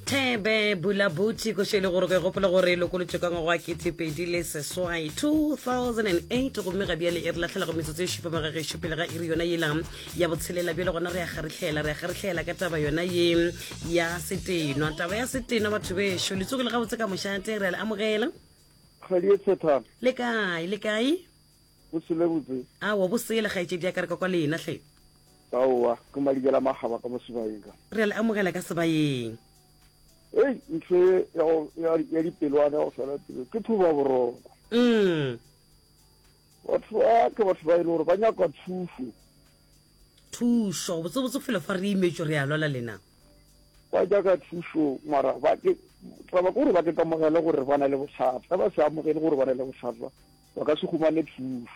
Thebe Bulabuti košo e le gore ke gopola gore e lokolotšwe ka ngwaga wa 2008 2008 gomme ga bjale e re lahlela go metsotso e šupa magagešo pele ga iri yona yela ya botshelela. Bjale gona re ya kgarihlela, re ya kgarihlela ka taba yona ye ya setenwa, taba ya setenwa. Batho bešo, le tsogile gabotse ka mošate, re a le amogela. Kgwedi e tshethana. Le kae, le kae? Bosele botse. Aowa, bosele kgaetšedi ya ka, re ka kwa lena hle. Aowa, ke madikela makgaba ka mo sebayeng ka. Re a le amogela ka sebayeng. Ei, ntho e ya go ya ya dipelwana ya go fela pelo ke thoba boroko. Batho ba ke batho ba e le gore ba nyaka thušo. Thušo, botsebotse felo fa re imetšwe re a lwala lena. Ba nyaka thušo mara ba ke taba ke gore ba ke kamogele gore ba na le bothata. Ge ba se amogele gore ba na le bothata ba ka se humane thušo.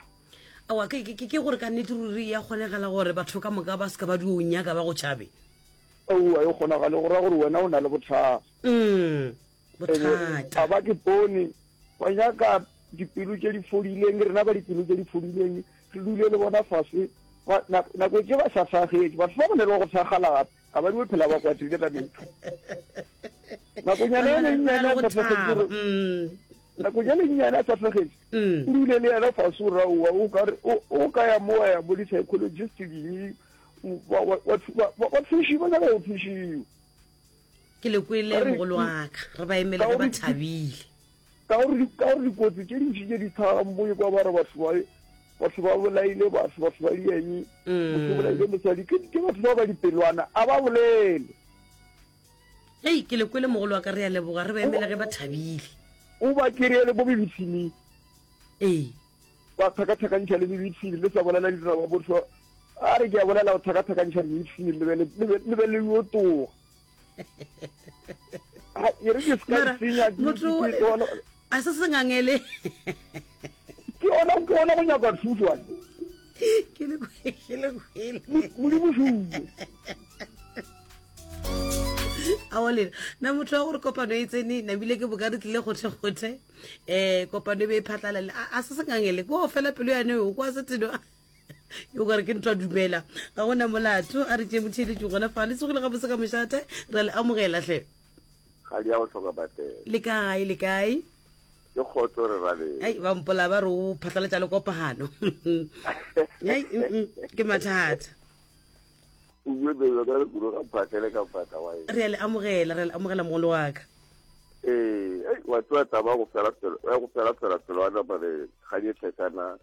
Aowa, ke, ke, ke gore ka nnete ruri ya kgonagala gore batho ka moka ba se ka ba dio nyaka ba go tšhabe? Aowa, e kgonagale, go ra gore wena o na le bothata. Bothata. A ba ke bone, ba nyaka dipelo tše di fodileng, rena ba dipelo tše di fodileng, re dule le bona fase, ba, nako tše ba sa thagetše, batho ba ba ne le go thakgala gape, ga ba dio phela ba kwatile ka mehla. Nakonyana e lennyane a sa thagetše gore, Nakonyana e nnyane a sa hlagetše, o dule le yena fase o ra owa o ka re o ka ya mo wa ya bo di-psychologist ding ba thuši ba nyaka go thušiwa. Ke le kwele mogolo wa ka, re ba emele ge ba thabile. Ka gore dikotsi tše dintši tše di tlhagang mo kwa ba re batho ba batho ba bolaile batho batho ba dieng motho o bolaile mosadi ke batho ba ba dipelwana a ba bolele. Hei, ke le kwele mogolo wa ka, re a leboga, re ba emela ge ba thabile. O ba kereye le bo bibithini. Ee. Ba thakathakantšha le bibithini, le sa bolela ditaba botho. A re ke a bolela go thakathakantšha bibithini le be le be le yo toga. E re ke se ka senya motho a se se ngangele. Ke ona ke ona go nyaka thuso. Ke le ke le kwele. Modimo šuwe. Aowa lena na motho wa gore kopano e tsene nabile ke boka re tlile kgothekgothe um eh, kopano e be e phatlalale a se sengangele ko fela pelo yane o kwa seteno yo kare ke ntho a dumela ga gona molato a re tše motheletši gona fa le tsogile gabotse ka mošate ra le amogela hle. Ga di ya go hloka patela. Le kae le kae? Ke kgotso re raleng. Ai ba mpola ba re o phatlalatša le kopano. Ai ke mathata. O bue bebe ka re kudu ga phatlele ka phatla wa eng. Re a le amogela, re a le amogela mogolo wa ka. Ee, ei, wa tseba taba ya go fela pelo, ya go fela fela pelo wa nama re ga di tlhekana.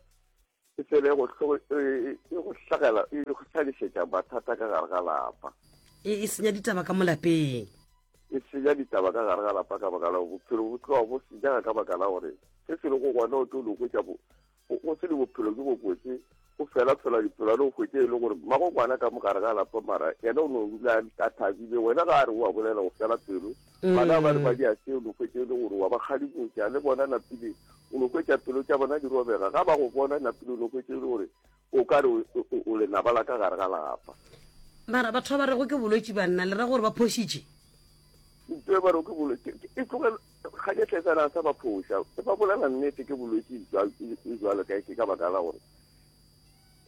E fele go e, e go hlagela, e go hlagišetša mathata ka gare ga lapa. E, e senya ditaba ka mo lapeng. E senya ditaba ka gare ga lapa ka baka la gore bophelo bo tloga bo senyega ka baka la gore se se lego gona o tlo no hwetša bo Go se le bophelo bjo bobotse, go fela-fela dipolane o hwetše e le gore mmago ngwana ka mo gare ga lapa mara yena o no dula a thabile, wena ga a re o a bolela o fela pelo. Bana ba re ba dia se o no hwetše e le gore wa ba kgalemotša le bona napile o no hwetša pelo tša bona di robega ga ba go bona napile o no hwetše e le gore o ka re o lenaba la ka gare ga lapa. Mara batho ba ba rego ke bolwetši banna le ra gore ba phošitše? Ntho e ba rego ke bolwetši e tlogela Ga ke tletsana sa ba phoša, e ba bolela nnete ke bolwetši jwalo ka ke ka baka la gore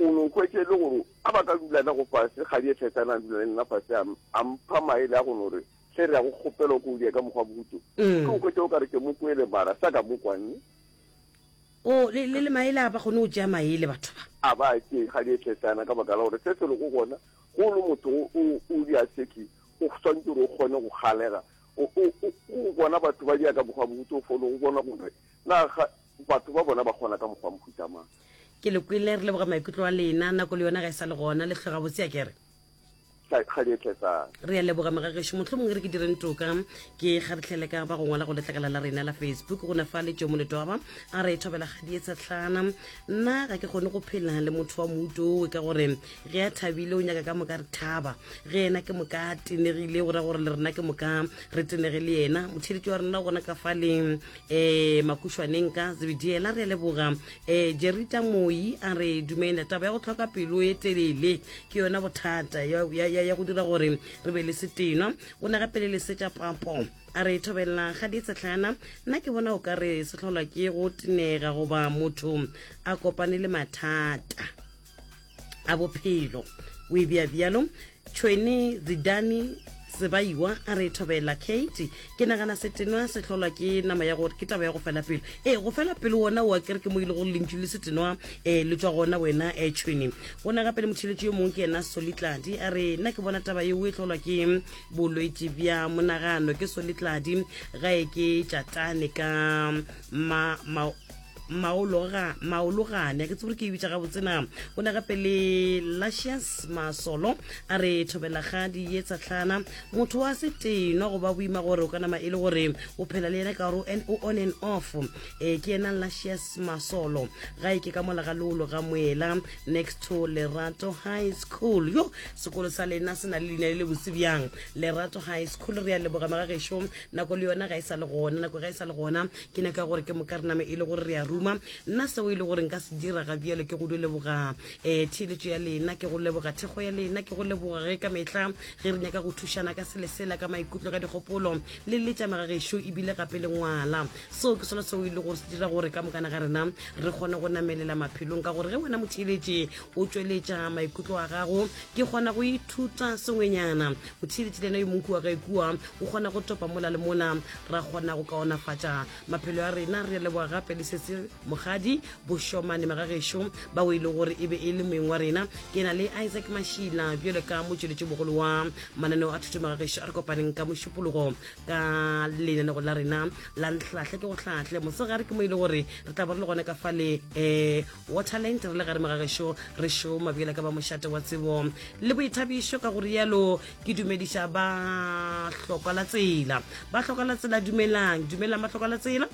o no hwetše le gore a ba ka dula na go fase ga di tletsana a dula le nna fase a mpha maele a go no re hle re ya go kgopela ko o die ka mokgwa bohuto mm. ke o hwetše o ka re ke mo kwele mara sa ka mo kwanne o le le maele a ba kgone go tšea maele batho ba a ba tšee ga di tletsana ka baka la gore se se lego gona go le motho o di a seki o swantse gore o kgone go galega O, o, o, o bona batho ba dira ka mokgwa botse, o fone o bona gore na ga batho ba bona ba kgona ka mokgwa mohuta mang. Ke le kwele, re leboga maikutlo a lena. Nako le yona ga e sa le gona, le hloga botse akere? Ga-di-etletsang. Re a leboga mogagešo. Mohlomongwe re ke direng toka ke kgarehlele ka ba go ngwala go letlakala la rena la Facebook go na fa le Tšomo Letwaba a re thobela ga-di-etsetlana. Nna ga ke kgone go phela le motho wa moutowe ka gore ge a thabile o nyaka ka moka re thaba, ge yena ke moka a tenegile go ra gore le rena ke moka re tenege le yena. Motheletši wa rena gona ka fa le um makušwaneng ka Zebediela re a leboga. Um Jerita Moi a re dumela, taba ya go hloka pelo e telele ke yona bothata ya, ya, ya go dira gore re be le setenwa. Go na gape le Lesetša Papo a re thobela ga di tshetlana, nna ke bona o ka re se hlolwa ke go tenega goba motho a kopane le mathata a bophelo. O e bea bjalo Tšhwene Zidane. Sebaiwa a re thobela Kate, ke nagana setenwa se hlolwa ke nama ya gore ke taba ya go fela pelo. Ee, go fela pelo wona o a kere ke mo ile gore lentšu le setenwa um le tswa gona wena um tšhwene. Go na gape le motheletši yo mongwe ke yena Solitladi a re nna ke bona taba yeo e hlolwa ke bolwetši bja monagano. Ke Solitladi gae ke tšatane ka ma, ma maologa maologane ke tsebore ke e bitša gabotse na. O na gape le Luscious Masolo a re thobelagadi ye tsahlana motho wa setenwa go ba boima gore o ka nama e le gore o phela le yena ka gore o on and off. E ke yena Luscious Masolo ga e ke ka mola ga leolo ga moela next to Lerato High School. Yo sekolo sa lena se na le leina le le botse bjang, Lerato High School. Re a leboga magagešo, nako le yona ga e sa le gona, nako ga e sa le gona. Ke nyaka gore ke moka re name e le gore re a ruma. Nna seo e le gore nka se dira ga bjalo ke go dio leboga um theeletšo ya lena, ke go leboga thekgo ya lena, ke go leboga ge ka mehla ge re nyaka go thušana ka sele sela, ka maikutlo, ka dikgopolo le letša magagešo ebile gape le ngwala. Seo ke sona seo e le gore se dira gore ka mokana ga rena re kgone go namelela maphelong, ka gore ge wena motheeletši o tšweletša maikutlo a gago ke kgona go ithuta sengwenyana. Motheeletši le yena yo mongwe kua gae kua o kgona go topa mola le mola, ra kgona go kaonafatša maphelo a rena. Re leboga gape le sese Mogadi Bošomane magagešo bao e le gore e be e le moeng wa rena. Ke na le Isaac Mashila bjalo ka motšweletši mogolo wa mananeo a thuto magagešo. A re kopaneng ka mošupologo ka lenanego la rena la Nhlahle ke go hlahle mosegare, ke mo e le gore re tla ba re le gona ka fale um Waterland re le gare magagešo re šoma bjalo ka ba mošate wa tsebo le boithabišo. Ka go rialo ke dumediša ba hloka la tsela, ba hloka la tsela, dumelang, dumelang ba hloka la tsela.